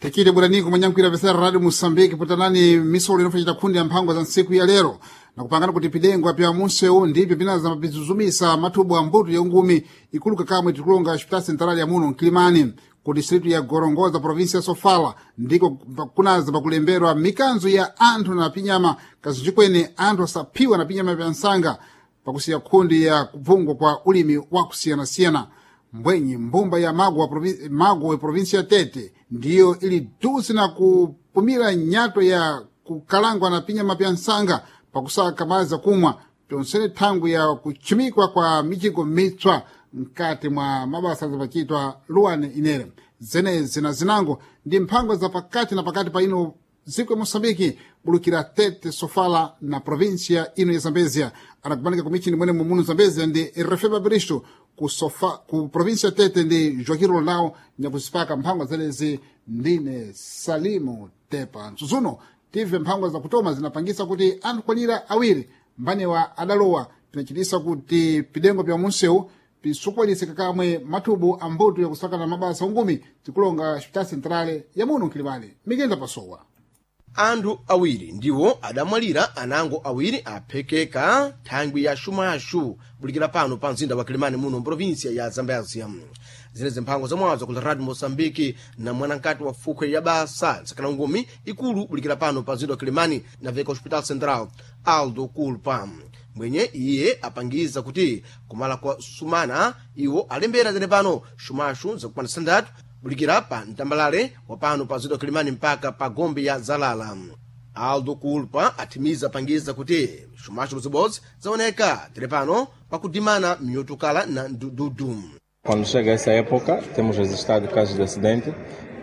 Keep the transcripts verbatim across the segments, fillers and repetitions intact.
Tikile bwananiko mwanyankhwira pesera Radio Mosambiki putanani misolo inofacita khundi ya mphango za ntsiku ya lero nakupangana kuti pidengwa pya munsewu ndipyo pinaza mapizuzumisa mathubu a mbuto ya ungumi ikuluka kamwe tikulonga hospital central ya muno mkilimani ku distritu ya Gorongosa provinsia ya Sofala ndiko kunaza pakulemberwa mikanzo ya anthu na pinyama kazinjikwene anthu asaphiwa na pinyama pya nsanga pakusiya khundi ya kupfungwa kwa ulimi wa kusiyanasiyana mbwenyi mbumba ya mago wa provi- mago wa provinsia ya Tete ndiyo ili dusi na kupumira nyato ya kukalangwa na pinyama pya nsanga pakusaka madzi akumwa pyonsene thangwi ya kuchimikwa kwa mijigo mitswa mkati mwa mabasa zapachitwa luwane inere zenezi na zinango ndi mphango za pakati na pakati pa ino dziko ya moçambike bulukira Tete, Sofala na província ino ya Zambezia. Anakumanika kumichini mwene mumuno Zambezia ndi Refeba Bristo ku, Sofa, ku província ya Tete ndi Joaquim Rolão nyakuzipaka mphango zenezi ndine Salimu Tepa msuzuno tive mphango zakutoma zinapangisa kuti anthu kwanira awiri mbanewa adalowa pinachitisa kuti pidengo pya munsewu pisukwanise kakamwe mathubu a mbuto yakusakana mabasa ungumi tikulonga hospital centrale ya muno mkilimani mikenda pasowa. Anthu awiri ndiwo adamwalira, anango awiri aphekeka thangwi ya xumaxu bulikira pano pa mzinda wa Kilimani muno mprovinsia ya Zambezia. Zinezi mphango zamwazo ku Radio Moçambique na mwanankati wa fukhwe ya basa nsakana ngumi ikulu bulikira pano pa mzinda wa Kilimani na veka Hospital Central Aldo Culpa mwenye iye apangiza kuti kumala kwa sumana iwo alembera zene pano xumaxu zakupanda sandatu bulikira pa mtambalale wa pano pa mzinda wa Kilimani mpaka pa gombe ya Zalala. Aldo Culpa athimiza apangiza kuti xumaxu bozibodzi zaoneka tere pano pakudimana miotukala na ndududu. Quando chega essa época, temos registrado casos de acidente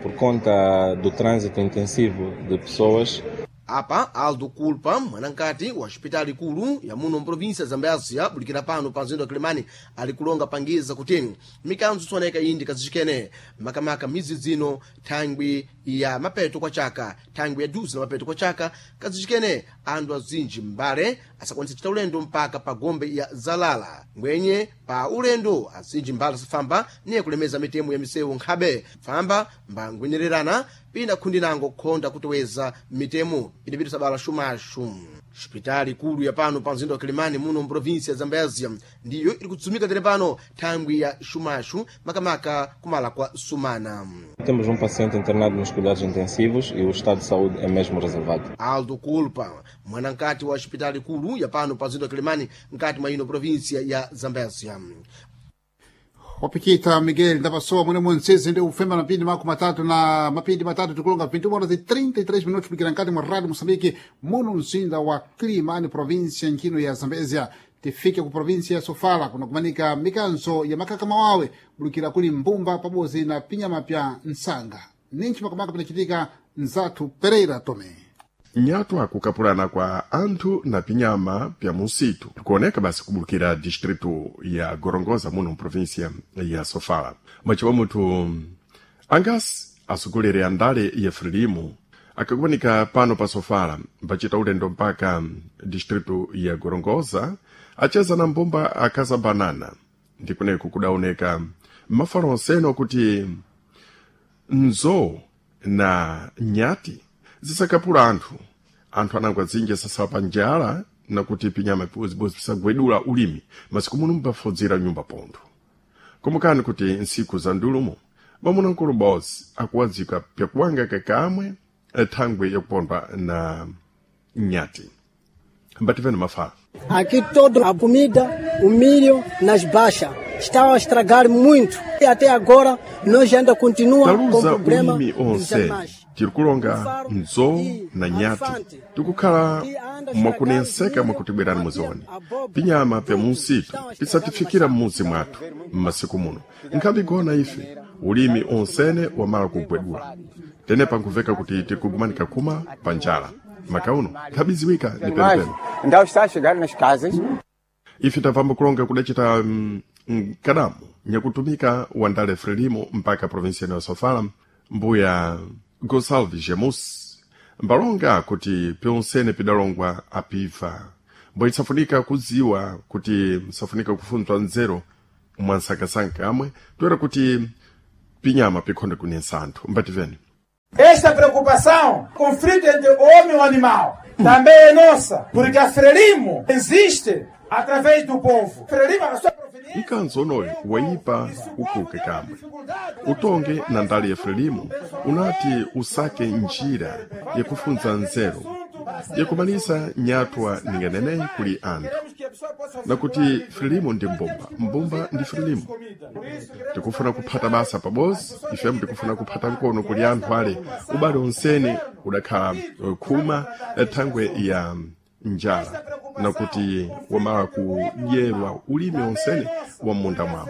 por conta do trânsito intensivo de pessoas. Apa Aldo Culpa, mwanankati wa xipitali ikulu ya muno mprovinsia ya Zambezia bulikira pano pa mzinda wa Kilimani, ali kulonga pangiza kuti mikanzo sioneka indi kazicikene makamaka mizi zino thangwi ya mapeto kwa chaka, thangwi ya duzi na mapeto kwa chaka kazicikene anthu azinji mbale asakwanisa kuchita ulendo mpaka pa gombe ya Zalala ngwenye pa ulendo azinji mbale asafamba niye kulemeza mitemo ya misewu nkhabe famba mbangwenyererana pina khundi nango khonda kutoweza mitemo pinapita sabala xumaxu. Xipitali ikulu ya pano pa mzinda wa Kilimani muno mprovinsia ya Zambezia ndiyo iri kudzumika tere pano thangwi ya xumaxu makamaka kumala kwa sumana. Temos um paciente internado nos cuidados intensivos e o estado de saúde é mesmo reservado. Aldo Culpa, mwanankati wa xipitali ikulu ya pano pa mzinda wa Kilimani mkati mwa ino provinsia ya Zambezia. Wapikita Miguel ndapasowa mwene munsizi ndi ufemba mapindi mako matatu na mapindi matatu tikulonga vinte horas e trinta e três minutos kulikira nkati mwa Radio Moçambique muno mzinda wa Kilimani província nkino ya Zambezia. Tifike ku província ya Sofala kunakumanika mikanzo ya makaka mawawe bulukira kuli mbumba pabodzi na pinyama pya nsanga ninchi makamaka pinachitika nzathu Pereira Tome. Nyatwa kukapulana kwa anthu na pinyama pya musitu tikuoneka basi kubulukira distritu ya Gorongosa muno mprovinsia ya Sofala. Mwachiwa muthu angasi asukulire andale ya Frelimo akakumanika pano pa Sofala mpachita ulendo mpaka distritu ya Gorongosa acheza na mbumba akaza banana ndikuneko kudaoneka mafalo onsene kuti nzo na nyati zisakapula anthu anthu anangwa dzinja sasawa pa njala nakuti pinyama pibozibozi pisagwedula ulimi masiku muno mbafudzira nyumba pontho komukani kuti nsiku za ndulumo mwamuna bozi akuwadzika pyakuwanga kakamwe thangwi yakupondwa na nyati mbativeni mafala. Aqui toda a comida, o milho nas baixas. Está a estragar muito. E até agora nós ainda continua com Taluza problema ulimi dos onse animais. tiri kulonga nzo na nyati tikukhala mwakunenseka mwakutibwerani muzioni pinyama pya munsitu pisatifikira m'muzi mwathu m'masiku muno nkhabe igona ife ulimi onsene wamala kugwedula tenepa nkuveka kuti tikugumanika kuma pa njala makauno nkhabiziwika ni Animais penepene. Então está a chegar nas casas. Ife tapamba kulonga kudacita mm, mkadamu nyakutumika wandale Frelimo mpaka provinsia ya Sofala mbuya Gonsalves Jamus mbalonga kuti pyonsene pidalongwa apiva mbo isafunika kudziwa kuti msafunika kufunzwa nzeru mwansankasanka amwe toera kuti pinyama pikhonde kunensa anthu mbativeni. Esta preocupação, conflito entre o homem e o animal, também é nossa, porque a Frelimo existe através do povo. Frelimo, a sua Mkanzo onoyo wayipa ukuluke kamwe utonge na ndali ya Frelimo unati usake njira yakufunza nzeru yakumalisa nyatwa ninganeneyi kuli anthu nakuti Frelimo ndi mbumba, mbumba ndi Frelimo. Tikufuna kuphata basa pabozi, ifemu tikufuna kuphata nkono kuli anthu ale ubale onsene udakhala khuma thangwe ya njala nakuti wamala kudyerwa ulimi onsene wa m'munda mwawo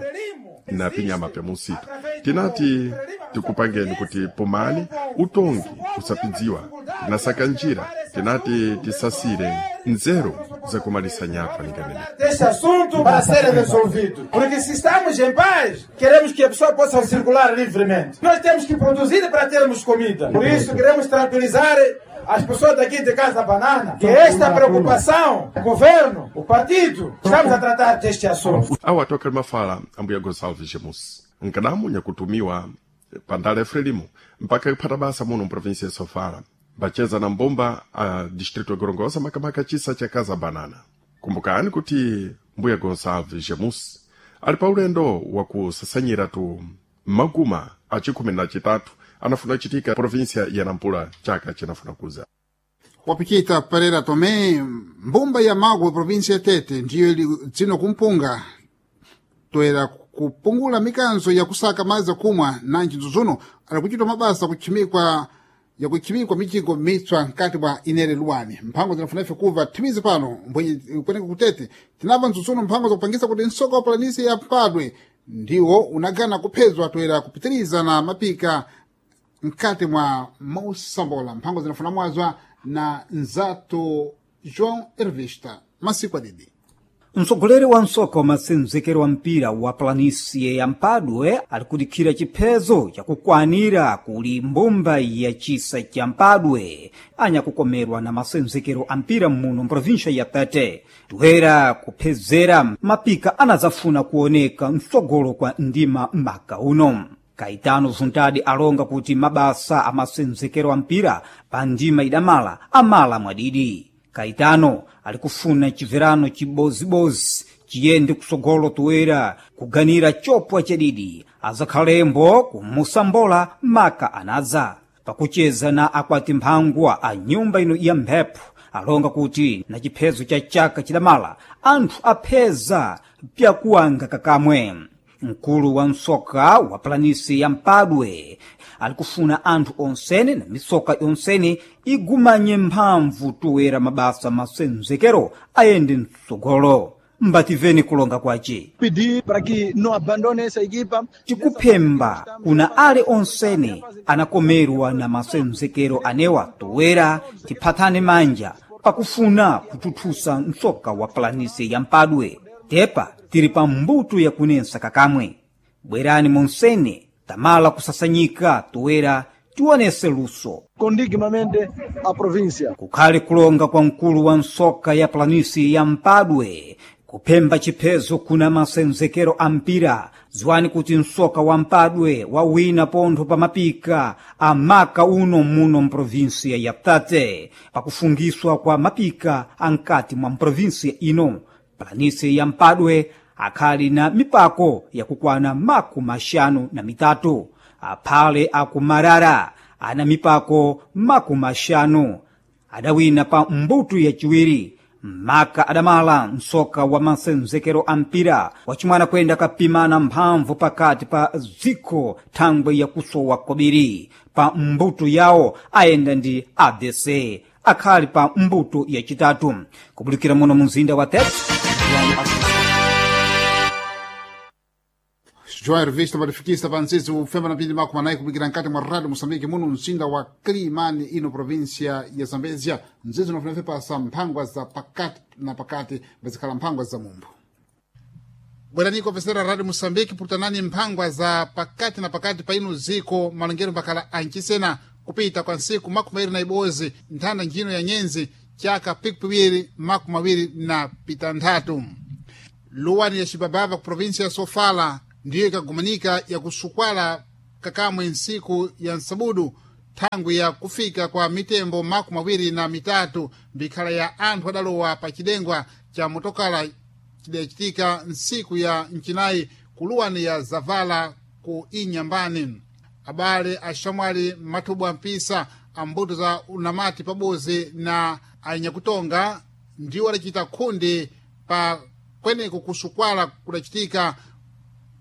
na pinyama pya musitu. Tinati tikupangeni kuti pomani utongi usapidziwa, tinasaka njira, tinati tisasire nzeru zakumalisa nyatwa ninganene. Este assunto para ser resolvido. Porque se estamos em paz, queremos que a pessoa possa circular livremente. Nós temos que produzir para termos comida. Por isso queremos tranquilizar as pessoas daqui de Casa Banana que esta preocupação, o governo, o partido, estamos a tratar deste assunto. Awo atoka mafala ambuya Gonçalves Jamus nkadamu nyakutumiwa pandala ya Frelimo mpaka kuphata basa muno mprovinsia ya Sofala bacheza na mbumba a distrito ya Gorongosa makamaka chisa cha Casa Banana. Kumbukani kuti mbuya Gonçalves Jamus ali pa ulendo wakusasanyira tu maguma a chikhumi na chitatu anafuna kuchitika provinsia ya Nampula chaka chinafuna kuza. Wapichita Pereira Tomé, mbumba ya Magwe provinsia ya Tete ndiyo ili dzino kumpunga toera kupungula mikanzo ya kusaka madzi akumwa nanji nzuzuno ali kuchitwa mabasa kuchimikwa yakuchimikwa mijigo mitswa nkati mwa inere luwani. Mphango zinafuna ife kuva thimizi pano mbwenye kuoneka kutete tinamva nzuzuno mphango zakupangisa kuti msoko wa palanisi ya Mpadwe ndiwo unagana kuphezwa toera kupitiriza na mapika mkati mwa mosambola. Mphango zinafuna mwazwa na nzato João Ervista masiku adidi. Mtsogoleri wa msoka wa masenzekero wa mpira wa planisie ya Mpadwe alikudikhira chiphezo chakukwanira kuli mbumba ya chisa cha Mpadwe anyakukomerwa na masenzekero a mpira muno mprovinsha ya Tete toera kuphezera mapika anazafuna kuoneka mtsogolo kwa ndima maka uno. Kaitano Zuntadi alonga kuti mabasa a masenzekero a mpira pa ndima idamala amala mwadidi. Kaitano alikufuna chibverano chibozibozi chiyende kusogolo toera kuganira chopwa chadidi azakhalembo kumusambola maka anadza. Pakucheza na akwati mphangwa a nyumba ino ya mphepo alonga kuti na chiphezo cha chaka chidamala anthu apheza pyakuwanga kakamwe. Mkulu wa msoka wa planisi ya Mpadwe alikufuna anthu onsene na misoka yonsene igumanye mphamvu toera mabasa masenzekero ayende mtsogolo. Mbativeni kulonga kwace pedir para que não abandone essa equipa. Tikuphemba kuna ale onsene anakomerwa na masenzekero anewa toera tiphathane manja pakufuna kuthuthusa msoka wa planisi ya Mpadwe. Tepa tiri pa mbuto yakunensa kakamwe. Bwerani monsene tamala kusasanyika toera tionese luso Condigmamente a província. Kukhale kulonga kwa mkulu wa nsoka ya planisi ya Mpadwe kuphemba chiphezo kuna masenzekero a mpira. Ziwani kuti msoka wa Mpadwe wawina pontho pa mapika a maka uno muno mprovinsia ya Tate pakufungiswa kwa mapika a nkati mwa mprovinsia ino. Planisi ya Mpadwe akhali na mipako yakukwana makumi maxanu na mitatu. Aphale akumarara ana mipako makumi maxanu adawina pa mbuto yaciwiri. Maka adamala msoka wa masenzekero a mpira wacimwana kwenda kapimana mphamvu pakati pa dziko thangwe yakusowa kobiri. Pa mbuto yawo ayenda ndi A B C akhali pa mbuto yacitatu. Kubulikira muno mumzinda wa Tete. João Ervista matifikisa pa ntsitsi ufemba na pindi makumi anayi kupikira nkati mwa Radio Moçambique muno mzinda wa Climane ino província ya Zambezia. Mzizi unofunafe pasa mphangwa za pakati na pakati bazikhala mphangwa za mumbu. Bweraniko pesera Radio Moçambique putanani mphangwa za pakati na pakati pa ino ziko malongero mbakhala ancisena kupita kwa nsiku makumi awiri na ibozi nthanda njino ya nyenzi chaka pikipiwiri makumi awiri na pitanthatu. Luwani ya Xibabava ku província ya Sofala ndiyo ikagumanika yakusukwala kakamwe nsiku ya nsabudu thangwi ya kufika kwa mitembo makumi awiri na mitatu mbikhala ya anthu adalowa pa chidengwa cha motokala chidachitika ntsiku ya mchinayi kuluwani ya zavala ku inyambani. Abale axamwali mathubwa mpisa ambuto za unamati pabozi na anyakutonga ndiwo adacita khundi pa kweneko kusukwala kudachitika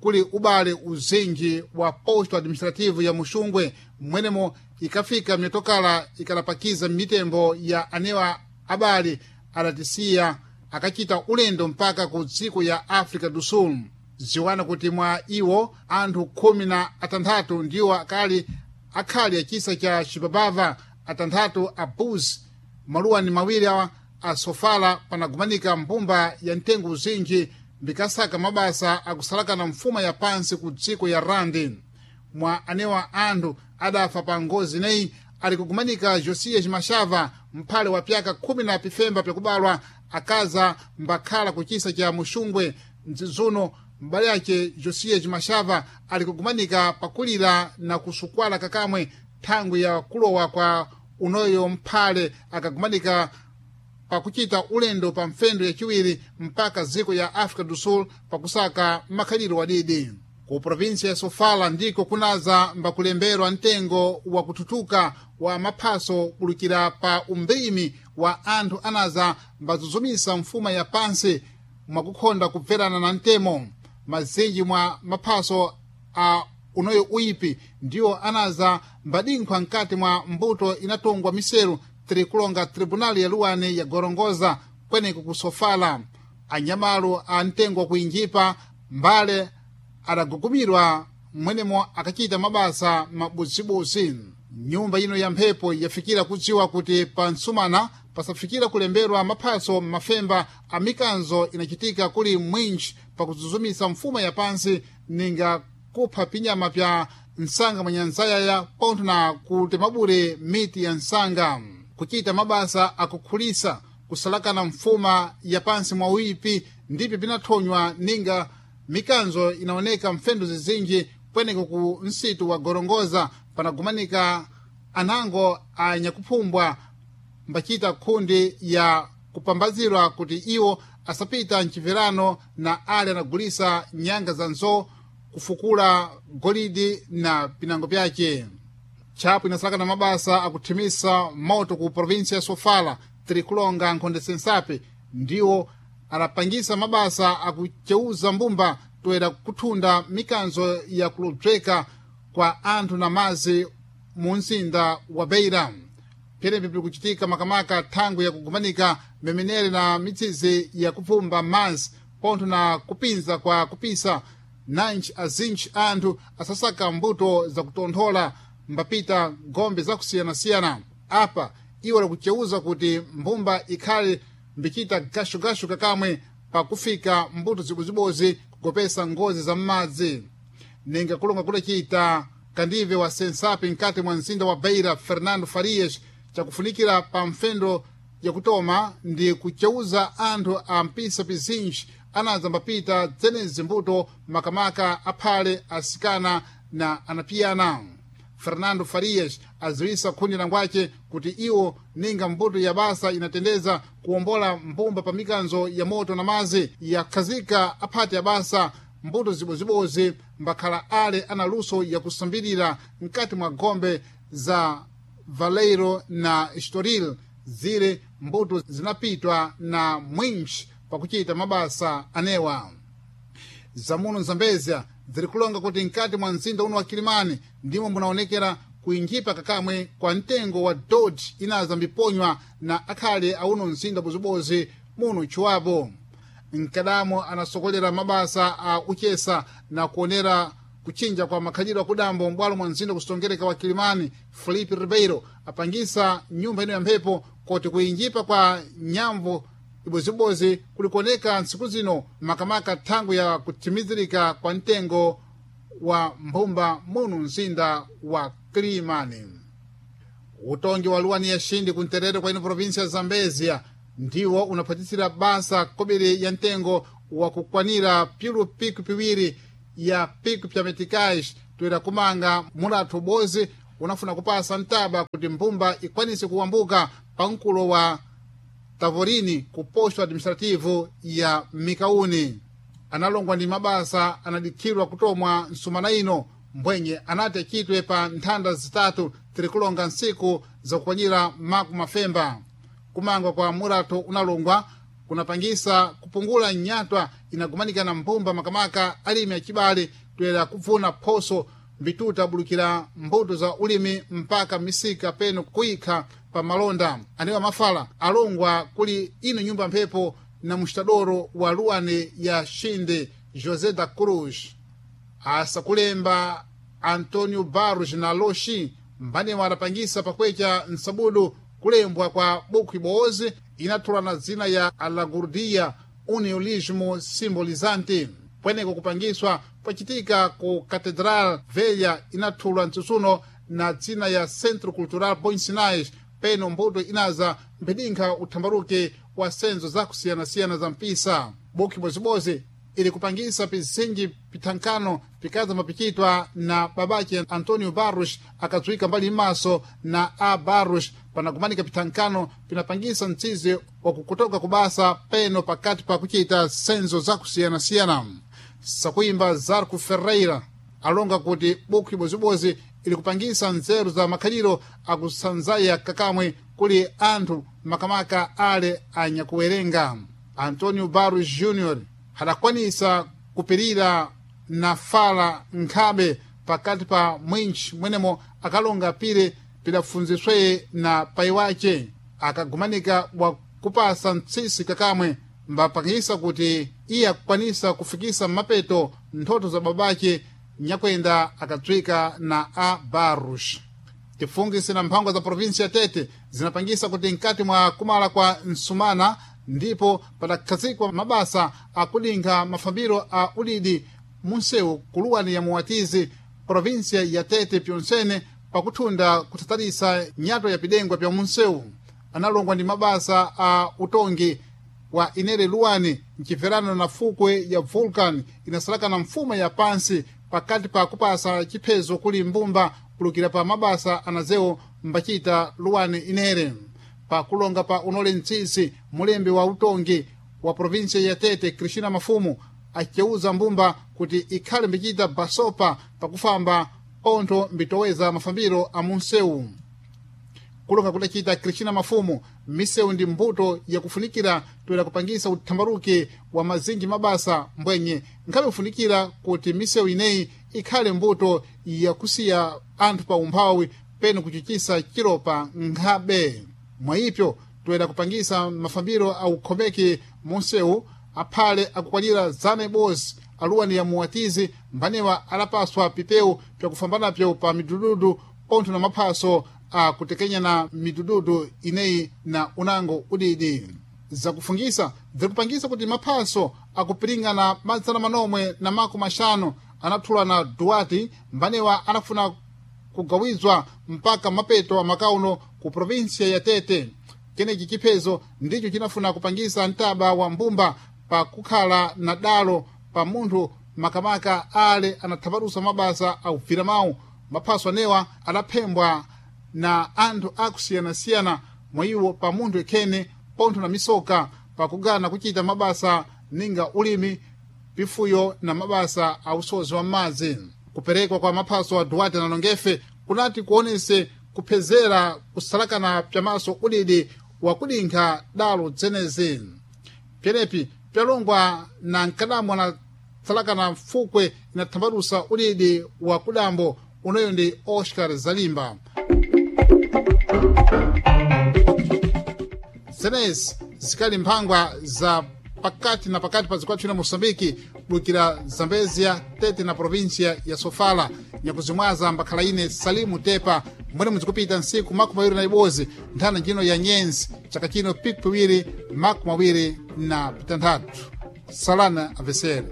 kuli ubale uzinji wa posto administrativo ya Muxungwe, mwenemo ikafika mitokala ikalapakiza mitembo ya anewa abale adatisiya akachita ulendo mpaka ku dziko ya Africa do Sul. Ziwana kuti mwa iwo anthu khumi na atanthatu ndiwo akali akhali achisa cha Chipapava, atanthatu a Buz, maluwani mawiri awa a Sofala panagumanika mbumba ya mtengo uzinji mbikasaka mabasa akusalakana mfuma ya pansi ku dziko ya Randi. Mwa anewa anthu adafa pa ngozi ineyi ali kugumanika Josias Mashava, mphale wa pyaka khumi na pifemba pyakubalwa, akaza mbakhala kuchisa cha Muxungwe mdzizuno. Mbale ace Josias Mashava ali kugumanika pakulira na kusukwala kakamwe thangwi ya kulowa kwa unoyo mphale akagumanika pakuchita ulendo pa mfendo yachiwiri mpaka dziko ya Africa do Sul pakusaka makhaliro wadidi. Ku provinsia ya Sofala ndiko kunaza mbakulemberwa mtengo wa kututuka wa maphaso kulukira pa umbimi wa anthu anaza mbazuzumisa mfuma ya pansi mwakukhonda kubverana na mtemo. Mazinji mwa maphaso a unoyo uipi ndiwo anaza mbadinkhwa mkati mwa mbuto inatongwa miseru tiri kulonga tribunali ya luwani ya Gorongoza kweneko ku Sofala. Anyamalu a mtengo wakuinjipa mbale adagugumirwa mwenemo akachita mabasa mabuzibuzi. Nyumba ino ya mphepo yafikira kudziwa kuti pa ntsumana pasafikira kulemberwa maphaso mafemba a mikanzo inachitika kuli mwinji pakuzuzumisa mfuma ya pansi ninga kupha pinyama pya nsanga mwanyanzayaya pontho na kutemabure miti ya nsanga. Kuchita mabasa akukhulisa kusalakana mfuma ya pansi mwa uipi ndipyo pinathonywa ninga mikanzo inaoneka mfendo zizinji kweneko ku nsitu wa Gorongoza panagumanika anango anyakuphumbwa mbachita khundi ya kupambazirwa kuti iwo asapita mchimverano na ale anagulisa nyanga za nzo kufukula golidi na pinango pyace. Tchapo inasalakana mabasa akuthimisa moto ku provinsia ya Sofala tiri kulonga nkhonde sensape ndiwo adapangisa mabasa akuceuza mbumba toera kuthunda mikanzo ya kulobzeka kwa anthu na mazi mu mzinda wa Beira. Pyenepi pili makamaka thangwi yakugumanika mimenere na mitsizi yakupfumba mazi pontho na kupinza kwa kupisa nanji azinji anthu asasaka mbuto zakutonthola mbapita gombe zakusiyanasiyana. Apa iwo lakuceuza kuti mbumba ikhale mbichita gashugashu kakamwe pakufika mbuto zibozibozi kugopesa ngozi za m'madzi. Ninga kulonga kulachita kandive wa sensapi mkati mwa mzinda wa Beira Fernando Farias chakufunikira pa mfendo yakutoma ndi kuceuza anthu a mpisa pizinji anaza mbapita dzenezi mbuto makamaka aphale asikana na anapiyana. Fernando Farias aziwisa khundi langwace kuti iwo ninga mbuto ya basa inatendeza kuwombola mbumba pa mikanzo ya moto na mazi yakhazika aphati ya basa mbuto zibozibozi mbakhala ale ana luso yakusambirira mkati mwa gombe za Valeiro na Estoril zile mbuto zinapitwa na mwinji pakuchita mabasa anewa. Zamuno Zambezia ziri kulonga kuti mkati mwa mzinda uno wa Kilimani ndimo munaonekera kuinjipa kakamwe kwa mtengo wa dodi inaza mbiponywa na akhale auno mzinda bozibozi muno chiwapo. Mkadamo anasokolera mabasa a uchesa na kuonera kuchinja kwa makhalidwe akudambo m'bwalo mwa mzinda kusitongereka wa Kilimani Felipe Ribeiro apangisa nyumba ino ya mphepo koti kuinjipa kwa nyambo ibozibozi kulikuoneka ntsiku zino makamaka thangwi ya kutimizirika kwa mtengo wa mbumba munu mzinda wa Kilimani. Utongi wa luwani ya Xindi kunterere kwa ino provinsia ya Zambezia ndiwo unaphatisira basa kobiri ya mtengo wa kukwanira pilu piku piwiri ya piku pya meticais toera kumanga mulatho bozi unafuna kupasa mtaba kuti mbumba ikwanise kuwambuka pamkulo wa Tavorini ku posto administrativo ya Mikauni. Analongwa ndi mabasa anadikhidwa kutomwa nsumana ino mbwenye anati achitwe pa nthanda zitatu tirikulonga ntsiku zakukwanyira maku mafemba. Kumangwa kwa murato unalongwa kunapangisa kupungula nyatwa inagumanika na mbumba makamaka alimi achibale toyera kupfuna phoso mbituta bulukira mbuto za ulimi mpaka misika peno kuyikha pa malonda. Anewa mafala alongwa kuli ino nyumba mphepo na mustadoro wa luane ya Xinde José da Cruz. Asakulemba Antonio Barros na Loshi mbanewa adapangisa pakwecha nsabudu kulembwa kwa buku iboozi inathula na dzina ya Alagurdia Uniolismo Simbolizante. Pweneko kupangiswa pachitika ku Catedral Velha inathulwa mtsutsuno na dzina ya Centro Cultural Bons Sinais peno mbuto inaza mphedinkha uthambaruke wa senzo zakusiyanasiyana za mpisa. Buku ibozibodzi ili kupangisa pizinji pithankano pikaza mapichitwa na babache Antonio Barros akadziwika mbali m'maso na A Barros panakumanika pithankano pinapangisa mtsizi wakukutoka kubasa peno pakati pa kuchita senzo zakusiyanasiyana. Sakuimba Zarco Ferreira alonga kuti buku ibozibodzi ili kupangisa nzeru za makhaliro akusanzaya kakamwe kuli anthu makamaka ale anyakuwerenga. Antonio Barros Junior adakwanisa kupirira na fala nkhabe pakati pa mwinchi mwenemo akalonga pire pidafunzisweye na pai wace akagumanika wakupasa mtsisi kakamwe mbapangisa kuti iye akukwanisa kufikisa mapeto nthoto za babace nyakwenda akatswika na a Barros. Tifungise na mphangwa za provinsi ya Tete zinapangisa kuti mkati mwa kumala kwa Nsumana ndipo padakhazikwa mabasa akudinkha mafambiro a udidi munsewu kuluwani ya Muwatizi provinsia ya Tete pyonsene pakuthunda kuthatalisa nyato ya pidengwa pya munsewu. Analongwa ndi mabasa a utongi wa inere luwani mchibverano na fukwe ya Vulcan inasalakana mfuma ya pansi pakati pa kupasa chiphezo kuli mbumba kulukira pa mabasa anazewo mbachita luwani inere. Pakulonga pa unole mtsisi mulembi wa utongi wa provinsia ya Tete Cristina Mafumu aceuza mbumba kuti ikhale mbichita basopa pakufamba pontho mbitoweza mafambiro a munsewu. Kulonga kudacita Cristina Mafumu misewu ndi mbuto yakufunikira toera kupangisa uthambaruke wa mazinji mabasa mbwenye nkhabe kufunikira kuti misewu ineyi ikhale mbuto yakusiya anthu pa umphawi peno kuchichisa chilopa nkhabe. Mwayipyo toera kupangisa mafambiro a ukhomeke munsewu aphale akukwanira zana ibodzi aluwani ya Muwatizi mbanewa alapaswa pipewu pyakufambanapyo pa midududu pontho na maphaso akutekenya na midududu ineyi na unango udidi. Zakufungisa zikupangisa kuti maphaso akupiringana madzana manomwe na mako maxanu anathula na Duarte mbanewa anafuna kugawizwa mpaka mapeto amakauno ku provinsia ya Tete. Kenechi chiphezo ndicho chinafuna kupangisa mtaba wa mbumba pakukhala na dalo pa munthu makamaka ale anathaparusa mabasa akubvira mawu. Maphaso anewa adaphembwa na anthu akusiyanasiyana mwayiwo pa munthu ekhene pontho na misoka pakugana kuchita mabasa ninga ulimi pifuyo na mabasa a usozi wa m'madzi. Kuperekwa kwa maphaso a Duarte na Longefe kunati kuonese kuphezera kusalakana pyamaso udidi wakudinkha dalo dzenezi. Pyenepi pyalongwa na nkadambo anatsalakana mfukwe inathambalusa udidi wa kudambo unoyo ndi Oscar Zalimba. Zenezi zikali mphangwa za pakati na pakati pa zikwathu na Moçambique kubukira Zambezia, Tete na província ya Sofala. Nyakuzimwaza mbakhala ine Salimu Tepa mwene muzikupita nsiku makumi awiri na ibodzi nthana njino ya nyenzi chaka chino piku piwiri makumi awiri na pitanthatu. Salana avesere.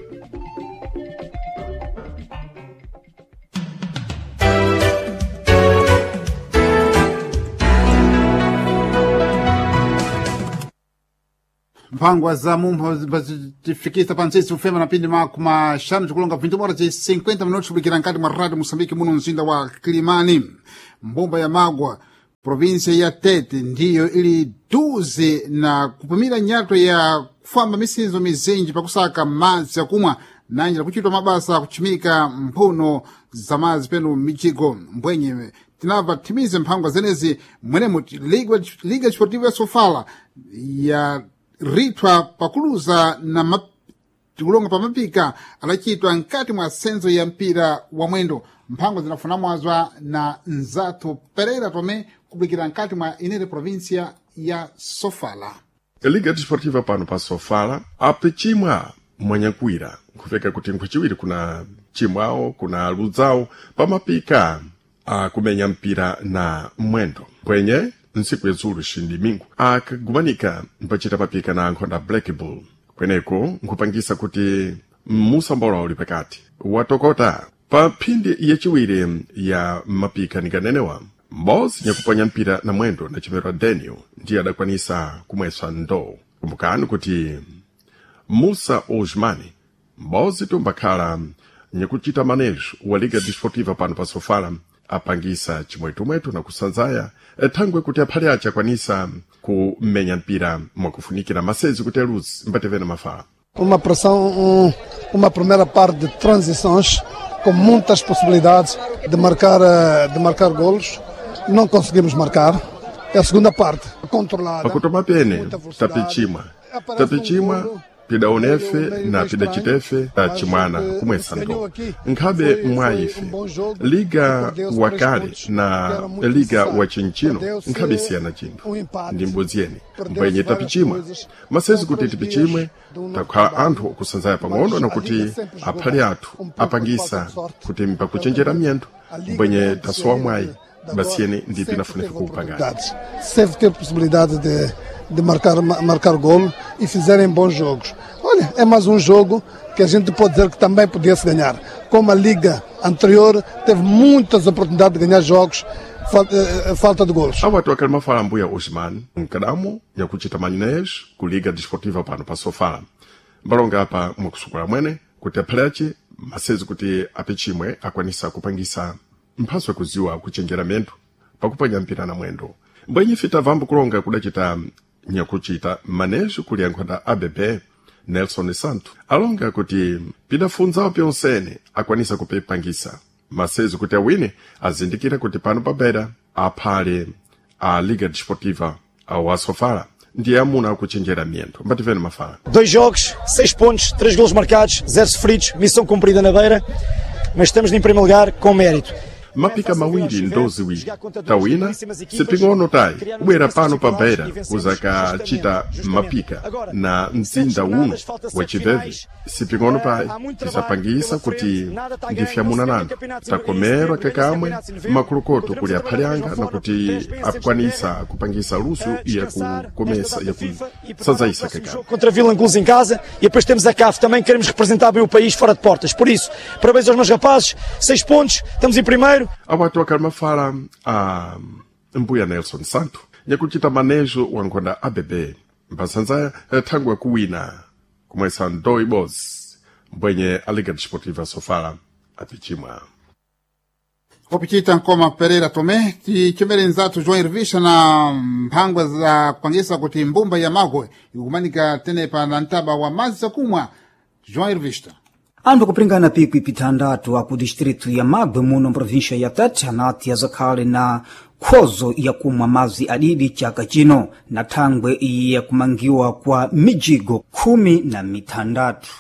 Mphangwa za mumpho zitifikisa pantsitsi kufema na pindi makumi axanu tikulonga vintu bora ci cinquenta minutos kubikira nkati mwa radio Moçambique muno mzinda wa Kilimani. Mbumba ya Magwa provinsia ya Tete ndiyo ili duze na kupumira nyato ya kufamba misinzo mizinji pakusaka madzi akumwa nanjira kuchitwa mabasa akuchimika mphuno za madzi penu mijigo mbwenye tinabva timize mphangwa zenezi mwenemo Liga, Liga Desportiva ya Sofala ya rithwa pakuluza na map tikulonga pamapika adacitwa nkati mwa senzo ya mpira wa mwendo mphango zinafunamwazwa na nzathu Pereira Tomé kubulikira nkati mwa inere província ya Sofala. Liga Desportiva pano pa Sofala apichimwa mwanyakwira nkufika kuti nkhwaciwiri kuna chimwawo kuna ludzawo pamapika akumenya mpira na mwendo pwenye ntsiku yadzulu xindimingu akagumanika mpachita mapika na ankhonda Black Bull kweneko nkhupangisa kuti musambola uli pakati watokota pa phindi yaciwiri ya mapika nikanenewa mbozi nyakuponya mpira na mwendo na chimero Daniel ndiye adakwanisa kumweswa ndoo kumbukani kuti Musa Osmani mbozi tumbakhala nyakuchita manejo wa Liga Desportiva pano pa Sofala apangisa chimwetumwetu na kusanzaya thangwe kuti aphale ace akwanisa kumenya mpira mwakufunikira masezi kuti aluzi mbatevena mafala. Uma pressão, um, uma primeira parte de transições com muitas possibilidades de marcar, de marcar golos. Não conseguimos marcar. É a segunda parte controlada. Pakutoma pene tapichimwa tapichimwa pidaonefe na pidacitefe tachimwana kumwesa ndo nkhabe mwa ife liga wakale na liga wa chinchino nkhabe siyana chinthu ndi mbodzi yene mbwenye tapichimwa masezi kuti tipichimwe takhala anthu okusanzaya pang'ono nakuti aphale athu apangisa kuti mpakuchenjera miyendo mbwenye tasowa mwayi basiyene ndi pinafunefe kuupangani. Sempre ter possibilidade de, de marcar, marcar golo e fizerem bons jogos. Olha, é mais um jogo que a gente pode dizer que também podia-se ganhar. Como a liga anterior teve muitas oportunidades de ganhar jogos, falta, falta de golos. Awatu akalima fala mbuya Osman nkadamo nyakuchita manejo ku Liga Desportiva pano pa Sofala mbalonga apa mwakusukula mwene kuti aphale ace masezi kuti apichimwe akwanisa kupangisa mphaso yakuziwa kuchenjera miyendo pakupanya mpira na mwendo mbwenye fita vambo kulonga kudacita nyakuchita manejo kuli ankhonda A B B Nelson Santo alonga kuti pidafunzawo pyonsene akwanisa kupipangisa masezi kuti awine azindikira kuti pano pabera aphale a Liga Desportiva ao Asofala ndiye amuna akuchenjera miyendo mbativene mafala. Dois jogos, seis pontos, três golos marcados, zero sofridos, missão cumprida na Beira, mas estamos em primeiro lugar com mérito. Mapika mawiri ndoziwiri tawina siping'ono tayi kubwera pano pa Beira kuzakachita mapika na mzinda uno wachiveve siping'ono payi tisapangisa kuti ndifyamuna nanthu takomerwa kakamwe makhulukoto kuli aphale anga nakuti akwanisa kupangisa luso yakukomesa yakusanzayisa kakamwe. Contra Vilanculos em casa e depois temos a C A F também, queremos representar bem o país fora de portas. Por isso, parabéns aos meus rapazes, seis pontos, estamos em primeiro. Awatu akalima fala a mbuya Nelson Santo nyakuchita manejo wa nkhonda A B B mpasanzaya thangwe kuwina kumwesa ndoi bozi mbwenye a Liga Desportiva Sofala apichimwa. Opichita Nkoma Pereira Tomé tichemere nzathu João Irvisha na mphangwa za kupangisa kuti mbumba ya Magwe ikumanika tenepa na mtaba wa madzi akumwa. João Irvista. Anthu akupringana pikwi pithandatu aku distritu ya Magwe muno mprovíncia ya Tete anati azakhale na khozo yakumwa madzi adidi chaka chino na thangwe yakumangiwa kwa mijigo khumi na mithandatu.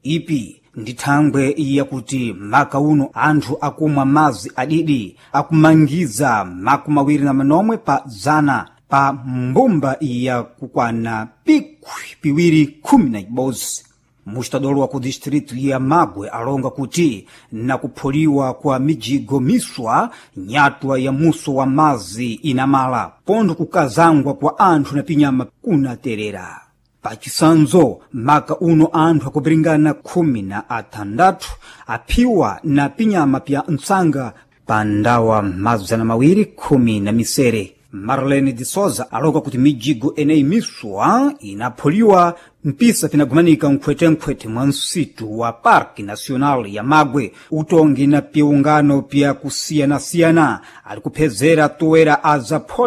Ipi ndi thangwe yakuti maka uno anthu akumwa madzi adidi akumangiza makumi awiri na manomwe pa zana pa mbumba yakukwana pikwi piwiri khumi na ibodzi. Mustadolo wa ku distritu ya Magwe alonga kuti nakuphuliwa kwa mijigo miswa nyatwa ya muso wa mazi inamala pondo kukazangwa kwa anthu na pinyama kunaterera. Pachisanzo maka uno anthu akupiringana khumi na athandathu aphiwa na pinyama pya ntsanga pa ndawa mazana mawiri khumi na misere. Marlene de Souza aloka kuti mijigo eneyi miswa inaphuliwa mpisa pinagumanika nkhwetenkhwete mwa nsitu wa Parque Nacional ya Magwe utongi na piungano pya kusiyanasiyana ali kuphezera toera azapholi.